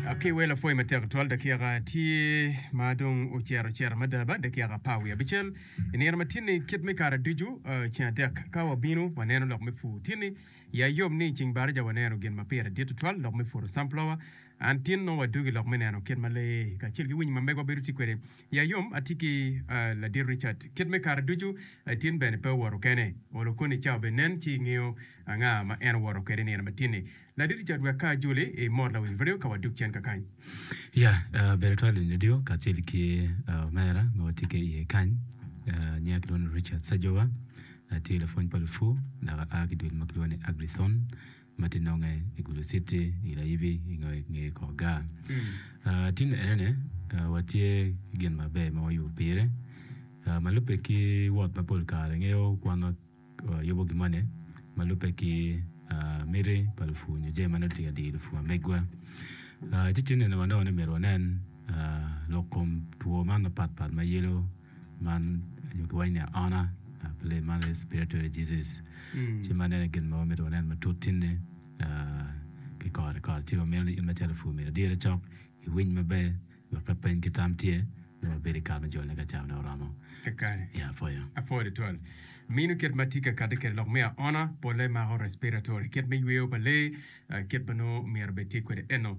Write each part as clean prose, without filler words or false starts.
Ki wel apwoyo matek tutwal dakika tye ma dong ocito cito mada ba dakika apar wiye abicel i nino ma tinni kit me kare ducu ceng adek ka wabino waneno lok me pur tinni ya yom ni ceng baraja waneno gin ma pire dit tutwal lok me puro sunflower an tin nongo wadugi lok me neno kit ma lee kacel ki winyi ma megwa bedo tye kwede ya yom atye ki ladit Richard kit me kare ducu tin bene pe owoto kene olo koni cawa bene nen ci ingeyo anga ma en owoto kwede i nino ma tinni Ladit Richard wek ka ajoli i mot lawiny radio ka wadug cen kakany. Ya, bedo twal i radio kacel ki omera ma watye ki iye kany. Nyinga kilwongo ni Richard Sajowa, atye lapwony pa lupur dok aa ki dul ma kilwongo ni Agrithon ma tye nonge i Gulu City i Layibi i nge kor gar. Tin enene watye ki gin maber ma wayubo pire ma lubbe ki wot ma pol kare ngeyo kwan yubo gin moni ma lubbe ki miti pa lupur nyo jami ma nongo tye ka diyo lupur ma megwa. Ci tye nene wanongo ni myero wanen lok kom two man mapat pat ma yelo man nyo kiwaco ni aona man respiratory diseases ci man ene gin ma wamito wanen matut tinni ki kore kore ci wamito ni in macalo lapur myero idire cok iwiny maber Wek ka peny ki tam tye, nongo wabedo i kare me jolone ka cawane oromo. Kakare. Ya, apwoyo. Apwoyo tutwal. Mino kit ma tye ka kati kwede lok me aona, polle mako respiratory, kit me yweyo pa lee, kit ma nongo myero bed tye kwede eno.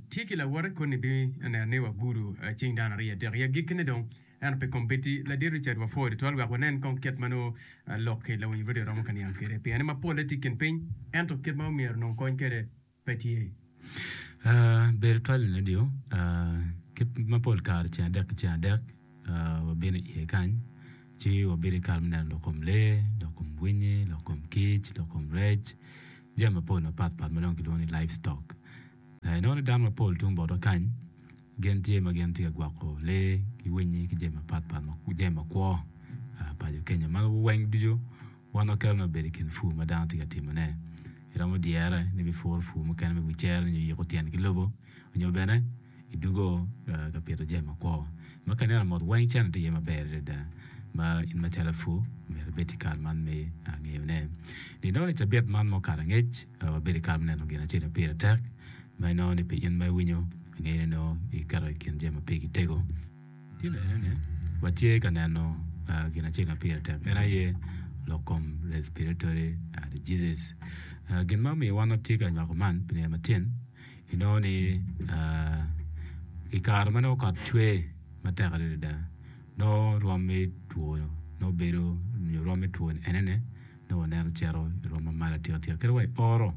Tye ki lawote koni bi neno ni wagudo cing dano ariya adek. I agikkine dong, ento pi kombeddi, Ladit Richard wapwoyo tutwal wek wanen kong kit ma nongo lok ki lawiny radio romo ka niang kwede. Pien ni ma polle tye i kin piny, ento kit ma myero onong kony kwede pe tye. Bedo twal i redio kit ma pol kare ceng adek ki ceng adek wabino iye kany ci wabedo i kare me neno lok kom lee, lok kom winyi, lok kom kic, lok kom rec, jami mapol mapat pat ma dong kilwongo ni live stock. Inongo ni dano mapol tung botwa kany gin tye ma gin tye ka gwoko lee ki winyi ki jami mapat pat jami makwo paco kenyo ma weng ducu Wan waketo ni obedo i kin pur ma dano tye ka timone. Iromo dyere ni ibipuro pur mukene me wi cere nyo yiko tyen ki lobo, nyo bene idugo ka pito jami makwo. Ma ka ineno mot weng cente tye iye maber adada ma in macalo lapur myero ibed ki kare man me ngeyone. Inongo ni cabit man ma okato angec wabedo i kare me neno gin acel ma pire tek ma inongo ni pi in ma iwinyo ingeyo ni nongo iketo i kin jami ma pigi tego. Tye bene ni, watye ka neno gin acel ma pire tek, en aye lok kom respiratory diseases. Gin ma omiyo wan watye ka nywako man pi nino matin, inongo ni i kare ma nongo kot cwer matek adada, nongo rwom me two nongo bedo nyo rwom me two enene nongo waneno cito i rwom ma malo atika tika kadi wa i oro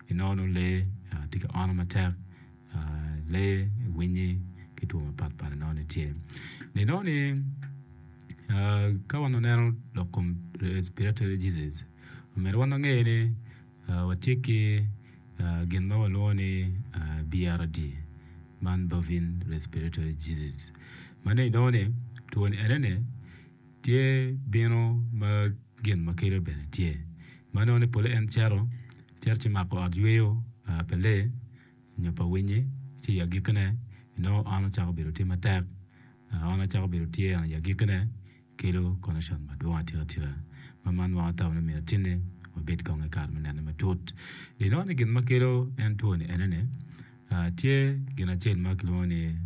inongo nongo lee tye ka ono matek. lee, winyi ki two mapat pat inongo ni tye. Inongo ni ka wan waneno lok kom respiratory diseases omyero wan wange ni watye ki gin ma walwongo ni BRD man bovine respiratory disease ma nongo inongo ni two ni enoni tye bino ma gin ma kelo bene tye ma nongo ni pole en cito cito ci mako ot yweyo pa lee nyo pa winyi ci i agikkine inongo on ocako bedo tye matek, on ocako bedo tye i agikkine kelo connection madwong atika tika ma man weko atamo ni myero atinne wabed kong i kare me nene matut. Inongo ni gin ma kelo en two ni ene ni tye gin acel ma kilwongo ni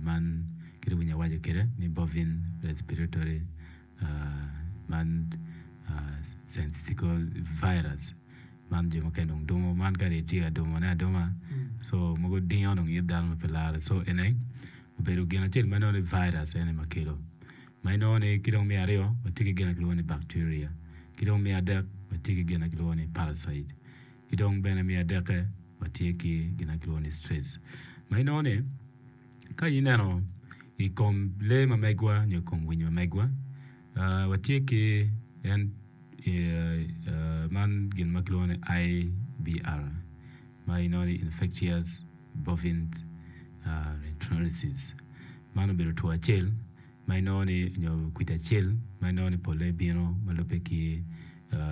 man kit winyo awaco kwede ni bovine respiratory man synthetical virus. Man jo mukene dong dumo man ka dong itye ka dumone aduma so mogo dingo dong it dano ma pe lare so ene obedo gin acel ma inongo ni virus ene ma kelo ma inongo ni ki dong me aryo watye ki gin ma kilwongo ni bacteria ki dong me adek watye ki gin ma kilwongo ni parasite ki dong bene me adekke watye ki gin ma kilwongo ni stress ma inongo ni ka ineno i kom lee ma megwa nyo i kom winyi ma megwa Watye ki en man gin ma kilwongo ni IBR ma inongo ni Infectious Bovine Arthritis. Man obedo two acel ma inongo ni nyo kwidi acel ma inongo ni polle bino ma lubbe ki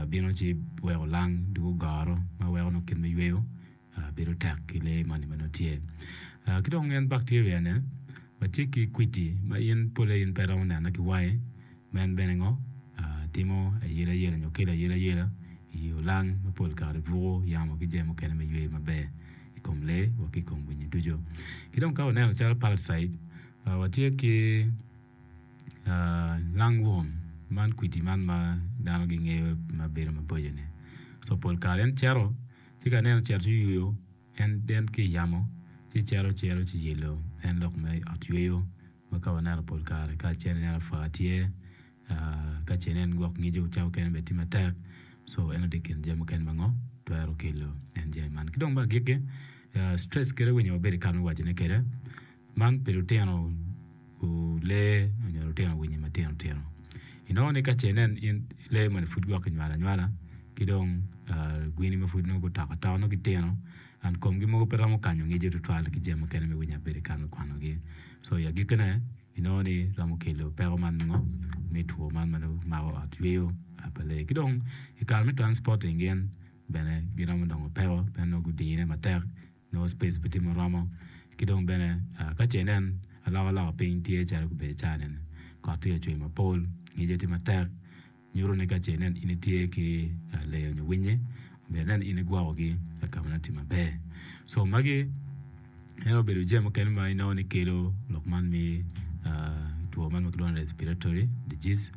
bino ci weko lang dwogo goro ma weko nongo kit me yweyo bedo tek ki lee moni ma nongo tye. Ki dong en bacteria ni watye ki kwidi ma in pole in pe iromo nene ki wangi ma en bene ngo timo ayela yela nyo kelo ayela yela i olang ma pol kare buko yamo ki jami mukene me yweyo maber i kom lee wa ki i kom winyi ducu. ducu. Ki dong ka waneno calo parasite, watye ki lungworm man kwidi man ma dano gingeyo ma bedo maboco-ni. Co pol kare en cito ci ka ineno ocito ci oyuyo en en ki i yamo ci cito cito ci yelo en lok me ot yweyo ma ka waneno pol kare ka acel ineno apwa tye ka ce inen gwok ngico ca mukene bene tye matek co eno tye i kin jami mukene ma ngo twero kelo en jami man. Ki dong me agikki stress kite winyo wabedo i kare me wacone kwede Man pi lutino lee nyo lutino winyi matino tino. Inongo ni ka ce inen in lee moni pud gwok kinywalo anywala ki dong gwini ma pud nongo gutoko atoka nongo gitino and komgi mogo pe romo kanyo ngico tutwal ki jami mukene me winyo abedo i kare me kwanogi. So i agikkine inongo ni romo kelo peko man me ngo me two man ma nongo mako ot yweyo pa lee. Ki dong i kare me transporting gin bene giromo dongo peko pien nongo gudine matek. Nongo space pe tye muromo ki dong bene ka ce inen alokaloka piny tye calo gubedo caa nene kot tye ka cwer mapol ngice tye matek nyuto ni ka ce inen in itye ki lee nyo winyi myero inen in igwokogi ka ma nongo tye maber so magi en obedo jami mukene ma inongo ni kelo lok man me two man ma kilwongo ni respiratory disease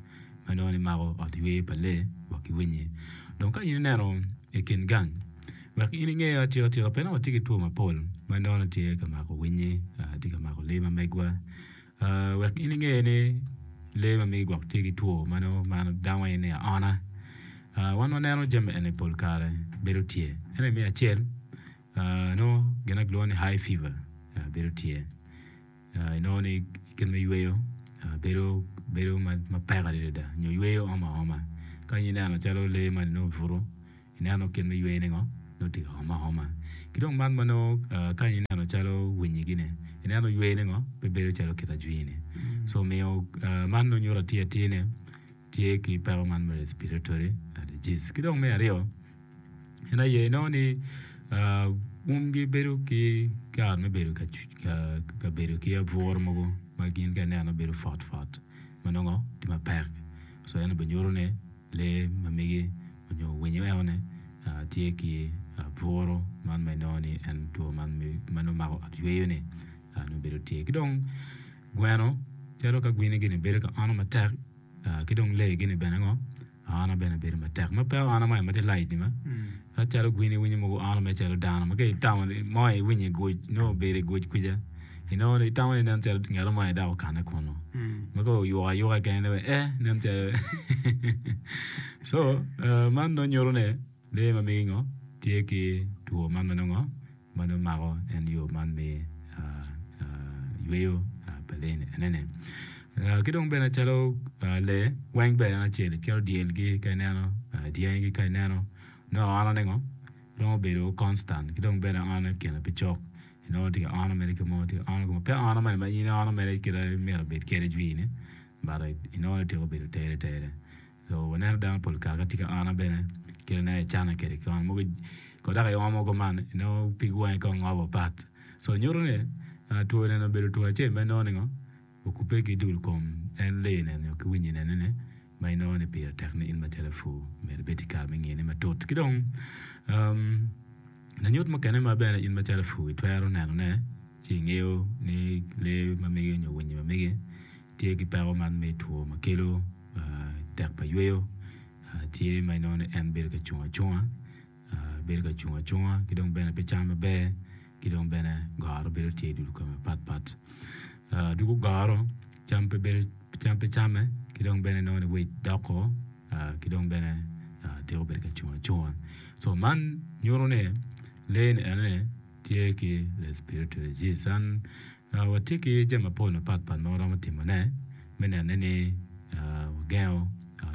ma inongo ni mako ot yweyo pa lee wa ki winyi dong ka in ineno i kin gang Wek in inge atika tika pien watye ki two mapol ma nongo tye ka mako winyi, tye ka mako lee ma megwa. Wek in inge ni lee ma megi gwok tye ki two ma nongo dano waco ni aona. Wan waneno jami eni pol kare bedo tye. Ento me acel nongo gin ma kilwongo ni high fever bedo tye. Inongo ni kit me yweyo bedo bedo mapek adada nyo yweyo omo aoma. Ka in ineno calo lee moni nongo obuto Ineno kit me yweyone ngo? Nongo tye ka omo aoma. Ki dong man ma nongo ka ineno calo winyi gini, ineno yweyone ngo? Pe bedo calo kit ajwini. So omiyo man nongo nyuto atir atir ni tye ki peko man me respiratory disease. Ki dong me aryo, en aye inongo ni umgi bedo ki kare me bedo ka bedo ki abwuro mogo ma gin ka ineno bedo pot pot ma nongo tye mapek. So en obinyuto ni Lee ma megi onyo winyo enoni tye ki buru man ma inongo ni en two man ma nongo mako ot yweyo ni nongo bedo tye ki dong gweno calo ka gwini gini bedo ka ono matek ki dong lee gini bene ngo aona bene bedo matek ma pe aona mo ma tye light ni ma ka calo gwini winyo mogo ono mere calo dano ma ka itamo ni mo iwinyo iguc nongo obedo iguc kwica Inongo ni itamo ni nen calo ngat mo aye dok okanne kunu. Ma ka oyuko ayuka kene ni eh nen calo so man nongo nyuto ni lee ma megi ngo tye ki two man ma nongo ma nongo mako en yo man me yweyo pa lee ni enene. Ki dong bene calo lee weng bene en acel calo dyelgi ka ineno dyangigi ka ineno nongo aona ni ngo romo bedo constant ki dong bene aona kine pe cok. Inongo tye ka ono mere ki mo, tye ka ono ki mo. Pe ono mere ma in iono mere kite myero obed kwede jwi-ni, but inongo ni tyeko bedo tere tere. So waneno dano pol kare ka tye ka ono bene kite nongo icane kwede ki ono. Mogo ko dok iomo kuman inongo pig wangi kong ngobo pat. So nyuto ni two eni obedo two acel ma inongo ni ngo okubbe ki dul kom en lee nene nyo ki winyi nene ni ma inongo ni pire tek ni in macalo lapur myero ibed ki kare me ngine matut. Ki dong lanyut mukene ma bene in macalo lapur itwero nenone ci ingeyo ni lee ma megi nyo winyi ma megi tye ki peko man me two ma kelo tek pa yweyo tye ma inongo ni en bedo ka cung acunga. bedo ka cung acunga ki dong bene pe cam maber ki dong bene goro bedo tye i dul kome mapat pat. Dwogo goro cam pe bedo cam pe came ki dong bene nongo ni weight doko ki dong bene tiko bedo ka cung acunga. So man nyuto ni lee ni enoni tye ki respiratory disease. Watye ki jami mapol mapatpat ma waromo timone me nene ni wagengo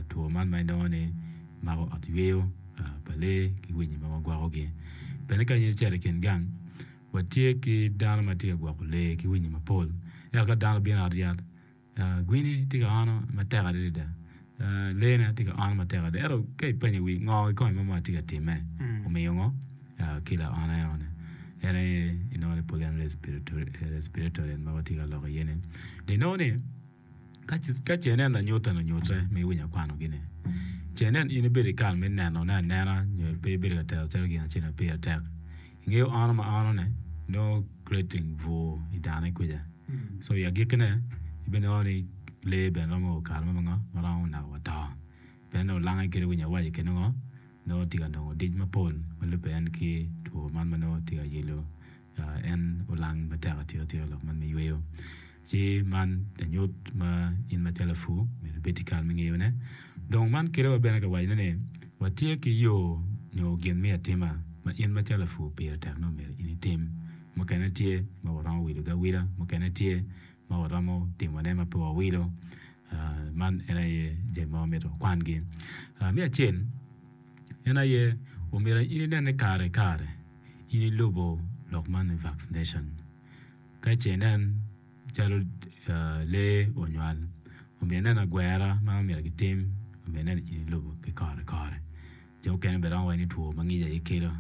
two man ma inongo ni mako ot yweyo pa lee ki winyi ma wagwokogi. Bene ka in icito i kin gang, watye ki dano ma tye ka gwoko lee ki winyi mapol. Ento ka dano obino i ot yat, Gwini tye ka ono matek adada, leene tye ka ono matek adada ento ka ipenyo wi ngo kikome ma tye ka timme omiyo ngo kelo aona enoni en aye inongo ni pol en respiratory ma watye ka lok iye ni dong inongo ni ka ce inen lanyut eni onyute ma iwinyo akwanogi ni ce inen in ibedo ki kare me nenone anena nyo pe ibedo ka tero calo gin acel ma pire tek ingeyo ono ma ono-ni nongo. creating bur i dane kwija. So i agikkine ibinongo ni lee bene romo o kare mo ma ngo ma romo naka wa to. Pien nongo olange kede winyo awaci kede ngo nongo tye ka nongo dic mapol ma lubbe en ki two man ma nongo tye ka yelo en olang matek atika tika lok man me yweyo. Ci man lanyut ma in macalo lapur myero ibed ki kare me ngeyone. Dong man kelo wa bene ka wacone ni watye ki yo nyo gin me atima ma in macalo lapur pire tek nongo myero in itim. Mukene tye ma waromo wilogi awila, mukene tye ma waromo timone ma pe wawilo. Man en aye jami ma wamito wakwangi. Me acel en aye omyero in inen ni kare ki kare in ilubo lok man me vaccination. Ka ce inen calo lee onywal, omyero inen agwera ma myero gitim, omyero inen in ilubo ki kore kore. Jo mukene bene romo waco ni two ma ngic aye kelo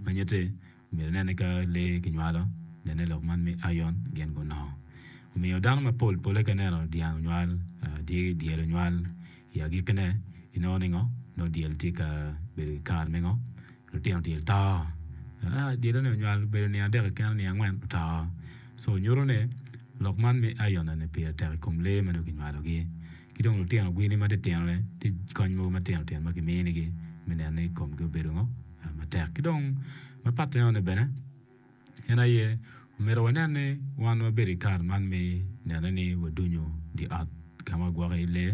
ma nyutti myero inen ni ka lee kinywalo nene lok man me iron gin gunongo. Omiyo dano mapol pole ka ineno dyang onywal, dyel onywal i agikkine inongo ni ngo? Nongo dyel tye ka bedo ki kare me ngo? Lutino dyel to. Dyelle-ni onywal obedo nino adek keken nino angwen oto. Co nyuto ni lok man me iron eni pire tek i kom lee ma nongo kinywalogi. Ki dong lutino gwini matitino-ni tye kony mogo matino tino ma kiminigi me neno ni komgi obedo ngo matek. Ki dong mapat enoni bene en aye omyero wanen ni wan wabedo i kare man me neno ni wadunyo dye ot ka ma wagwoko iye lee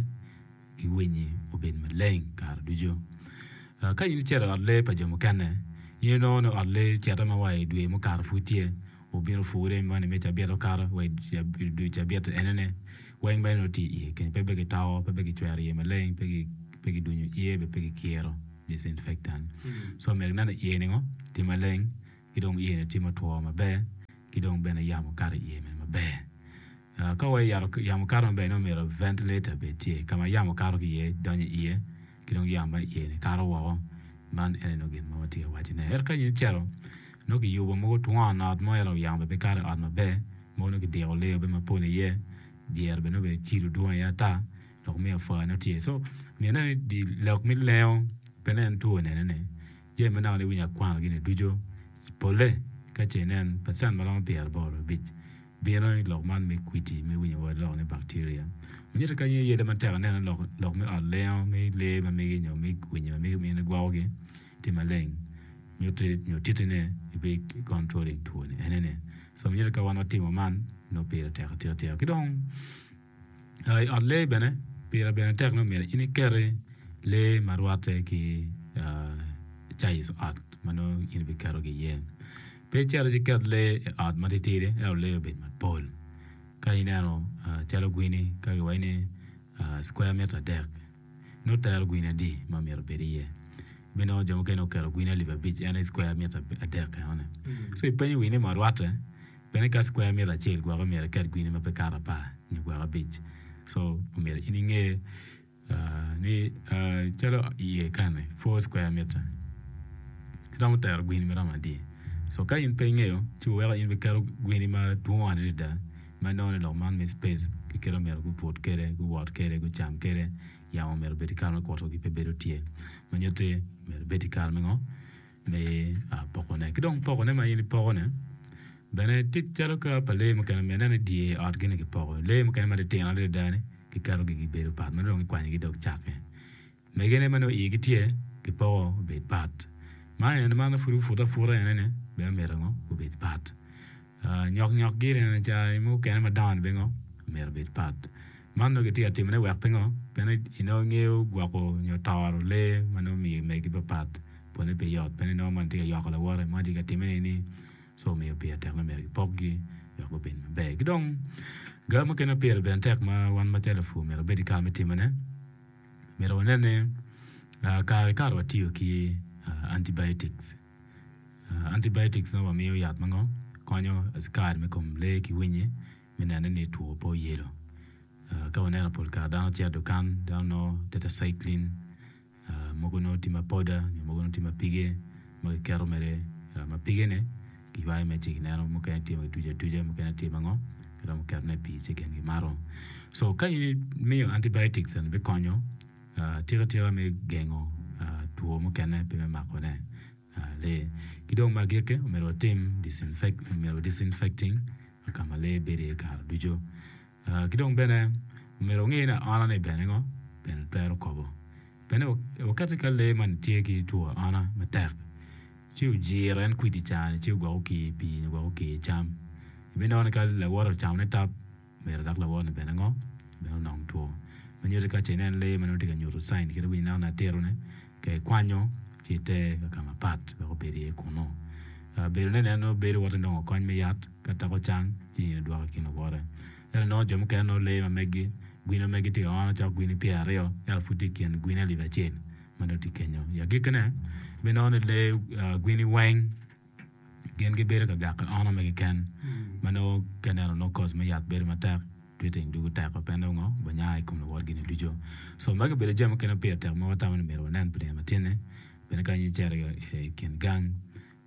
ki winyi obed maleng kare ducu. Ka in icito i ot lee pa jo mukene, in inongo ni ot lee cito ma wa i dwe mukato pud tye, obino pure moni me cabit okato wa i dwe cabit enene weng mere nongo tye iye kenyo pe bene kitoko, pe bene kicwero iye maleng, pe kidunyo iye bene pe kikiro disinfectant. So myero inen ni iye ningo tye maleng ki dong iye ni tye mutwo maber ki dong bene yamo kato iye bene maber. Ka wa yamo kato maber nongo myero ventilator bed tye ka ma yamo kato ki iye donyo iye ki dong yamo ma iye ni kato woko. Man ene nongo gin ma watye ka wacone. Ento ka in icito nongo kiyubo mogo twon ot mo ento yamo bene pe kato i ot maber mogo nongo kidiko lee bene mapol iye dyere bene nongo bene cilo dwong iye ata lok me apwa nongo tye. So myero inen ni lok me lengo pe nen two nene ni jami ma naka iwinyo akwano gini ducu pole ka ce inen pacent ma romo pyeraboro abic bino i lok man me kwiti me winyo wa lok ni bacteria. Manyuto ka in iyelle matek ineno lok lok me ot lengo me lee ma megi nyo me winyi ma megi ma in igwoko gi tye maleng nyuti nyo titi ne ibi controlling two ni ene ni. So manyuto ka wan watimo man nongo pire tek atika tika. Ki dong I ot lee bene pire bene tek ni myero in iketi lee ma rwatte ki caiz ot ma nongo in ibiketogi iye. Pe icit ci iket lee i ot ma titidi ento lee obed mapol. Ka ineno calo gwini ka kiwaco ni cukweya mita adek nongo tero gwini adi ma myero obed iye? Ibinongo jo mukene oketo gwini alip abic en aye cukweya mita adek enoni. Co ipenyo wii ni ma rwatte Bene ka cukweya mita acel gwoke myero iket gwini ma pe kato apar nyo gwok abic. So omyero in inge ni calo iye kani four square meter iromo tero gwini maromo adi. So ka in pe ingeyo ci weko in biketo gwini madwong adada ma inongo ni lok man me space ki kit ma myero gubut kwede, guwot kwede, gucam kwede yamo myero obed ki kare me kutogi pe bedo tye ma nyutti myero ibed ki kare me ngo me pokone. Ki dong pokone ma in ipoko-ni bene tye calo ka pa lee mukene myero inen ni dye otgi-ni kipoko. Lee mukene ma gitino adada-ni kiketogi gibedo pat ma dong kikwanyogi dog cakke. Megine ma nongo igi tye kipoko obed pat. Man eni ma pud gupute aputa eni-ni bene myero ngo gubed pat. Nyok nyok giri eni ca mukene madongo-ni bene ngo myero obed pat. Man nongo kitye ka timone wek pingo? Pien inongo ingeyo gwoko nyo toro lee ma nongo miyo megi papat pwonye pe yot pien inongo man tye ka yoko lawote man tye ka timme nini so omiyo pire tek ni myero kipokgi wek gubed maber. Ki dong ga mukene ma pire bene tek ma wan macalo lupur myero wabed ki kare me timone myero wanen ni kare ki kare watiyo ki antibiotics. Antibiotics nongo wamiyo yat ma ngo konyo acikari me kom lee ki winyi me nene ni two pe oyelo. Ka waneno pol kare dano cito i dukan dano nongo tetracycline mogo nongo tye ma poda nyo mogo nongo tye ma pige ma kiketo mere ma pige-ni kiywayo mere ci kineno mukene tye ma kituco atuca mukene tye ma ngo kiromo ketone i pii ci gin gimato. So ka in imiyo antibiotics eni bikonyo tika tika me gengo two mukene pe me makone. lee. Ki dong me agikki, omyero watim disinfect, omyero wa disinfecting ka ma lee bedo iye kare ducu. Ki dong bene omyero wange ni aona ni bene ngo bene twero kobo. Bene wakette ka lee man tye ki two aona matek ci ojiro en kwidi cani ci ogwoko okir pii nyo ogwoko okir cam. Ibinongo ni ka lawote ocamo ne tap myero dok lawote ni bene ngo bene onong two. Ma nyuto ka ce inen lee ma nongo tye ka nyuto cain kit ma winyo neno ni atito ni ka ikwanyo ci iter ka ka mapat wek obed iye kunu. Bedo ne nen nongo bedo wot inongo kony me yat ka teko cang ci in idwoko i kin luwote. Ento nongo jo mukene nongo lee ma meggi gwine ma meggi tye ka ono cok gwine pyeraryo ento pud tye i kin gwine alip acel ma nongo tye kenyo. I agikkine ibinongo ni lee gwini weng gin gibedo ka gako ono me keken ma nongo ka ineno nongo koc me yat bedo matek tweeting dugo teko pe nongo banya i kom luwotgi ni ducu. So magi obedo jami mukene ma pire tek ma watamo ni myero wanen pi nino matinni bene ka in icito i kin gang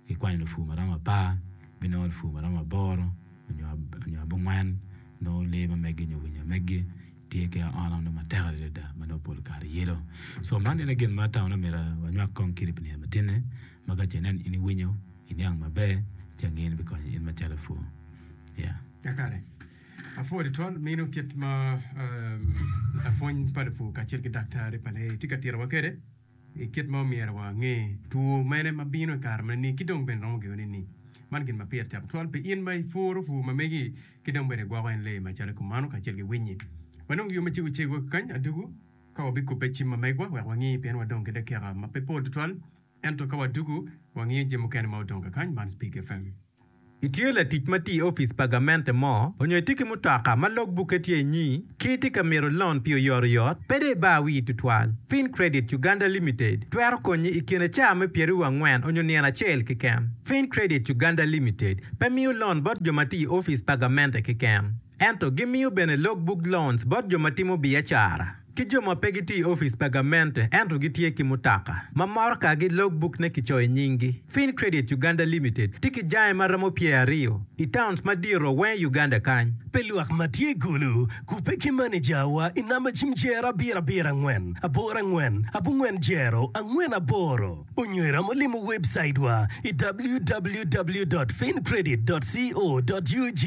ikwanyo lupur ma romo apar ibinongo lupur ma romo aboro nyo abongwen nongo lee ma megi nyo winyo ma megi tye ki aona nongo matek adada ma nongo pol kare yelo. So man ene gin ma atamo ni myero wanywak kong kidi pi nino matinni ma ka ce inen in iwinyo iniang maber ci angeyo ni bikonyo in macalo lapur. Yeah. Kakare. Apwod twal mino kit ma lapwony pa lupur kacel ki daktari pa lee tye ka titowa kwede i kit ma omyero wange two mene ma bino i kare mene ni ki dong bene romo gengo ni man gin ma pire tek twal pi in ma ipuro pur ma megi ki dong bene igwoko en lee macalo kumano kacel ki winyi. Wanongo yo macego cego kany adugu ka wabikubbe cim ma megwa wek wangi pien wadong ki dakika ma pe pol tutwal ento ka wadugu wangiyo jami mukene ma odong kakany man Speak FM. Itye latic ma tiyo i opic pa gamente mo, onyo itye ki mutoka ma log bukke tye inyi, ki itye ka mito lon pi oyotoyot, pe dong ibar wii tutwal. Fincredit Uganda Limited twero konyi i kine caa me pyeraryo angwen onyo nino acel keken. Fincredit Uganda Limited pe miyo lon bot jo ma tiyo i opic pa gamente keken, ento gimiyo bene log book loans bot jo ma timo biacara. Ki jo ma pe gitiyo i opic pa gamente ento gitye ki mutoka ma morokagi logbuk-ne kicoyo nyinggi. Fincredit Uganda Limited tye ki jange ma romo pyeraryo i towns madito weng i Uganda kany. Pi lwak ma tye i Gulu, kubbe ki manejawa i namba cim jero abiro abiro angwen aboro angwen abongwen jero angwen aboro onyo iromo limo webcaitwa i www dot fincredit dot co dot ug.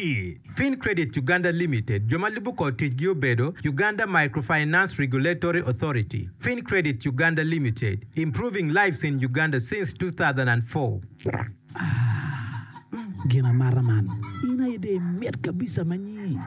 Fincredit Uganda Limited, jo ma lubo kor ticgi obedo, Uganda Microfinance Regulatory Authority, Fincredit Uganda Limited, improving lives in Uganda since 2004. Ah, gin amata man. In aye dong imit kabisa ma nyi.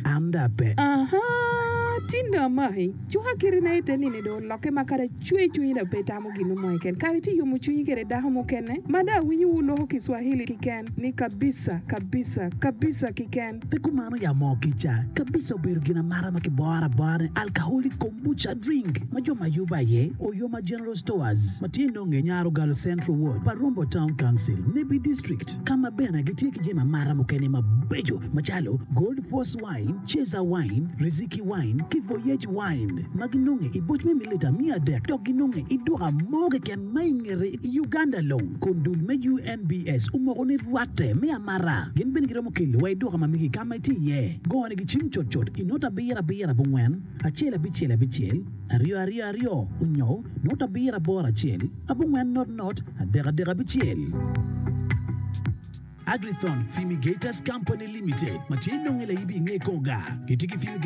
An dong ape. Ahaa, tin dong amaki. Cuka kitina ite nini dong olokke ma kadi acwe cwinyi dong pe itamo gin mo keken. Kadi itye yomo cwinyi kede dako mukene ma dong awinyo wu loko Kiswahili kiken ni kabisa, kabisa, kabisa kiken. Pe kumano ya moo kica kabisa obedo gin amata ma kiboro abora ni alcoholic kombucha drink ma jo ma yubo aye Oyoma General Stores ma tye nonge Nyarogalo Central Ward pa Rombo Town Council, Nebbi District ka ma bene gitye ki jami amata mukene mabeco macalo Gold Force Wine, Ceza Wine, Riziki Wine ki Voyage Wine ma ginonge i boc me mililita miya adek dok ginonge i duka mo keken ma i ngete i Uganda long kun dul me UNBS omoko ni rwatte me amata. Gin bene giromo kelo wa i duka ma megi ka ma itye iye. Gone gi cim cutcut i not abiro abiro abongwen, acel abicel abicel, aryo aryo aryo onyo not abiro aboro acel abongwen not not adek adek abicel. Agrithon Fumigators Company Limited ma tye nonge laibi inge kor gar gitye ki fumigators.